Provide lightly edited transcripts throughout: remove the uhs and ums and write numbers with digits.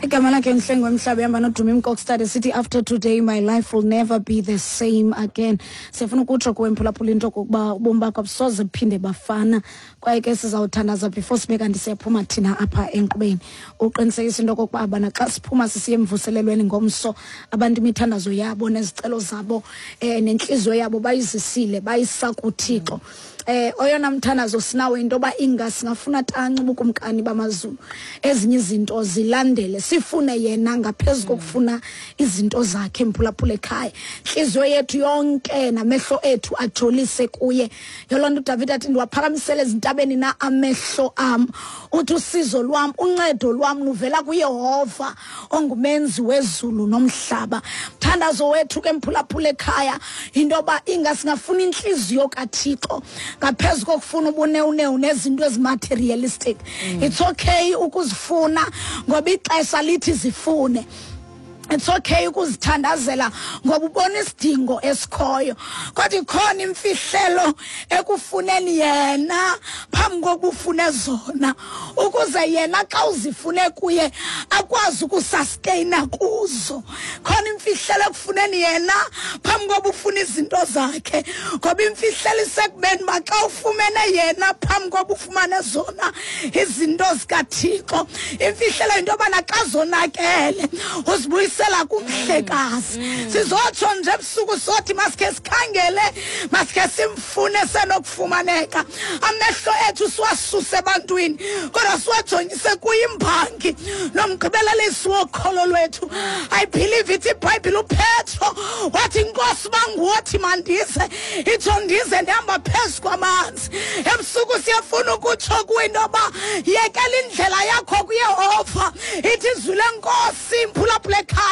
Igama lakhe Mhlengi wemhlaba ehamba noDumi Mkokstad esithi, "After today my life will never be the same again." Siyafuna ukutsho kuwe, mphulaphula, into okokuba ubomi bakho abusoze buphinde bafana. Kwaye ke sizawuthandaza before sibe kanti siyaphuma thina apha enkqubeni, uqinisekisa into okokuba abana xa siphuma sisiye emvuselelweni ngomso, abantu imithandazo yabo nezicelo zabo nentliziyo yabo bayizisile, bayisa kuThixo. Oyona mthandazo sinawo into yoba inga singafuna tanci ubukumkani bamazulu, ezinye izinto zilandele. Sifune yena ngaphezu kokufuna izinto zakhe, mphulaphula ekhaya. Intliziyo yethu yonke namehlo ethu ajolise kuye. Yoloo nto uDavid athi, "Ndiwaphakamisele ezintabeni na amehlo am?" Uthi, "Usizo lwam, uncedo lwam luvela kuYehova ongumenzi wezulu nomhlaba." Mthandazo wethu ke, mphulaphula ekhaya, into yoba inga singafuna intliziyo kaThixo ngaphezu kokufuna ubunewunewu nezinto ezimaterialistic. It's okay ukuzifuna ngoba ixesha lithi zifune. It's okay ukuzithandazela ngoba ubona isidingo esikhoyo, kodwa ikhona imfihlelo ekufuneni yena phambi kokuba ufune zona, ukuze yena xa uzifune kuye akwazi ukusustaina kuzo. Khona imfihlelo ekufuneni yena phambi kokuba ufune izinto zakhe, ngoba imfihlelo isekubeni uba xa ufumene yena phambi kokuba ufumane zona izinto zikaThixo, imfihlelo yinto yobana xa zonakele uzibuyisela kumhlekazi. Sizotsho nje ebusuku sothi masikhe sikhangele, masikhe simfune senokufumaneka. Amehlo ethu siwasuse ebantwini kodwa siwajongise kuyimbangi nomgqibelelisi wokholo lwethu. I believe ithi iBhayibhile, uPetro wathi, "Nkosi, banguwothi mandize, itsho ndize ndihamba phezu kwamanzi." Ebusuku siyafuna ukutsho kuwe into yoba yekela indlela yakho kuYehova. Ithi izwi leNkosi, mphulaphula ekhaya,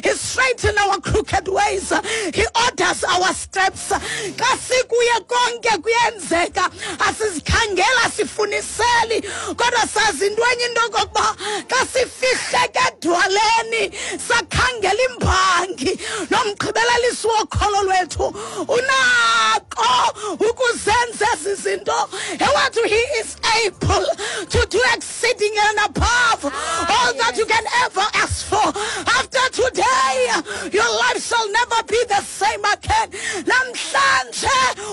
"He straighten our crooked ways, he orders our steps." Xa sikuye konke kuyenzeka. Asizikhangela sifuniseli, kodwa sazi into enye, into okokuba xa sifihleke edwaleni sakhangela imbangi nomgqibelelisi wokholo lwethu, unako ukuzenza ezi zinto. Ewethu, he is able to do exceeding and above all that you can ever ask for. After today your life shall never be the same again. Namhlanje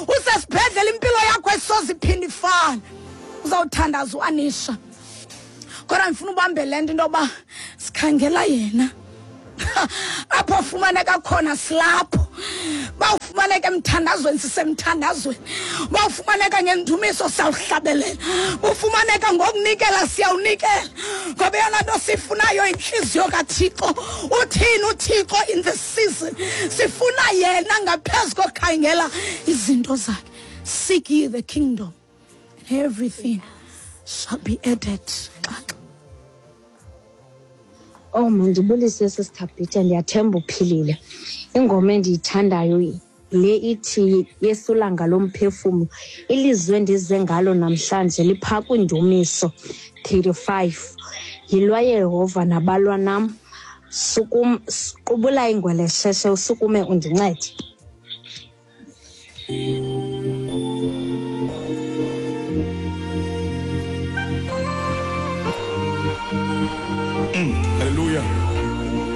usesibhedlela, impilo yakho esoze iphinde ifane. Uzawuthandaza uAnisha, kodwa ndifuna ubambe le nto, into yoba sikhangela yena. Apho ufumaneka khona silapho. Bawufumaneka emthandazweni, sisemthandazweni. Bawufumaneka ngendumiso, siyawuhlabelela. Bufumaneka ngokunikela, siyawunikela, ngoba eyona nto sifunayo intliziyo kaThixo. Uthini uThixo in the season? Sifuna yena ngaphezu kokhangela izinto zakhe. Seek ye the kingdom and everything shall be added. Xaxa. Oh, mandibulise, Sister Bhitya, ndiyathemba uphilile. Ingoma endiyithandayo le ithi "Yesulanga lomphefumlo". Ilizwi endize ngalo namhlanje liphaa kwiNdumiso 35. "Yilwa Yehova nabalwa nam. Sukum, qubula ingwelesheshe usukume undincede."